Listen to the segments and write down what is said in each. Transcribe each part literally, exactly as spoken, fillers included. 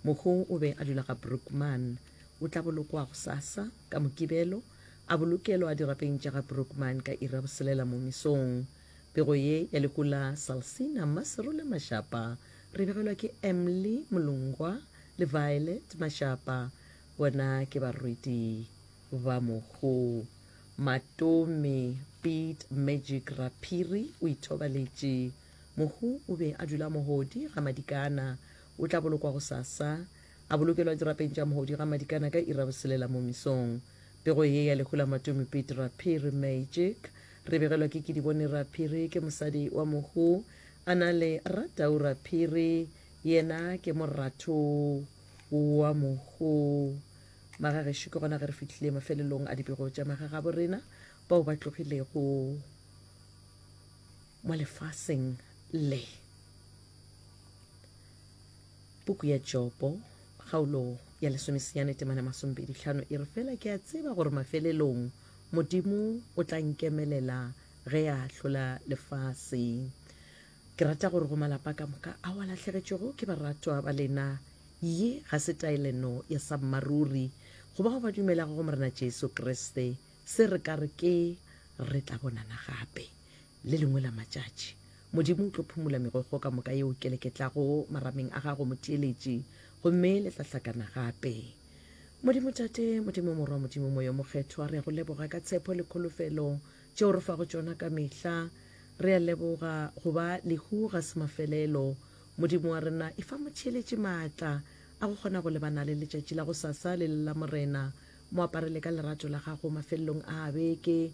Mohu o be a dula ga Brookman. O tla bolokwa gosasa, ka Mokibelo, a bolokelwa dirapeng tša ga Brookman ka iri ya boselela mo mesong. Pego ye ya lehu la Salsina Mmaserole Mashapa re begelwa ke Emily Molongwa le Violet Mashapa, bona ke barwedi ba mohu. Matome Pete Magic Raphiri o ithobaletše. Mohu o be a dula Mohodi ga Madikana. O tla bolokwa gosasa, a bolokelwa dirapeng tša Mohodi ga Madikana ka iri ya boselela mo mesong. Pego ye ya lehu la Matome Pete Raphiri Magic re begelwa ke Kedibone Raphiri, ke mosadi wa mohu, a na le Ratau Raphiri, yena ke moratho wa mohu. Magagešo, ke gona ge re fihlile mafelelong a dipego tša magagabo rena bao ba tlogilego mo lefaseng le. Puku ya Jobo, kgaolo ya lesomesenyane temana masomepedi hlano e re, Fela ke a tseba gore mafelelong Modimo o tla nkemelela ge a ahlola lefase. Ke rata gore go malapa ka moka ao a lahlegetšwego ke baratwa ba lena, ye ga se taeleno ya sammaruri go bao ba dumelago go Morena Jesu Kriste. Se re ka re ke re tla bonana gape le lengwe la matšatši. Modimo o tlo phumola megokgo ka moka yeo keleketlago marameng a gago, motheeletši, gomme le tla hlakana gape. Modimo Tate, Modimo Morwa, Modimo Moya o Mokgethwa, re a go leboga ka tshepo le kholofelo tšeo re fago tšona ka mehla. Re a leboga go ba lehu ga se mafelelo. Modimo wa rena, efa motheeletši maatla a go kgona go lebana le letšatši la gosasa le le la Morena. Mo aparele ka lerato la gago mafelelong a a beke.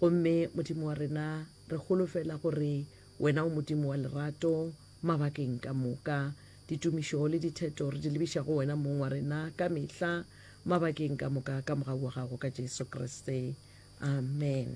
Gomme Modimo wa rena, re holofela gore wena o Modimo wa lerato mabakeng ka moka. Ditumišo le ditheto re di lebiša go wena Mong wa rena ka mehla mabakeng ka moka ka mogau wa gago ka Jesu Kriste. Amen.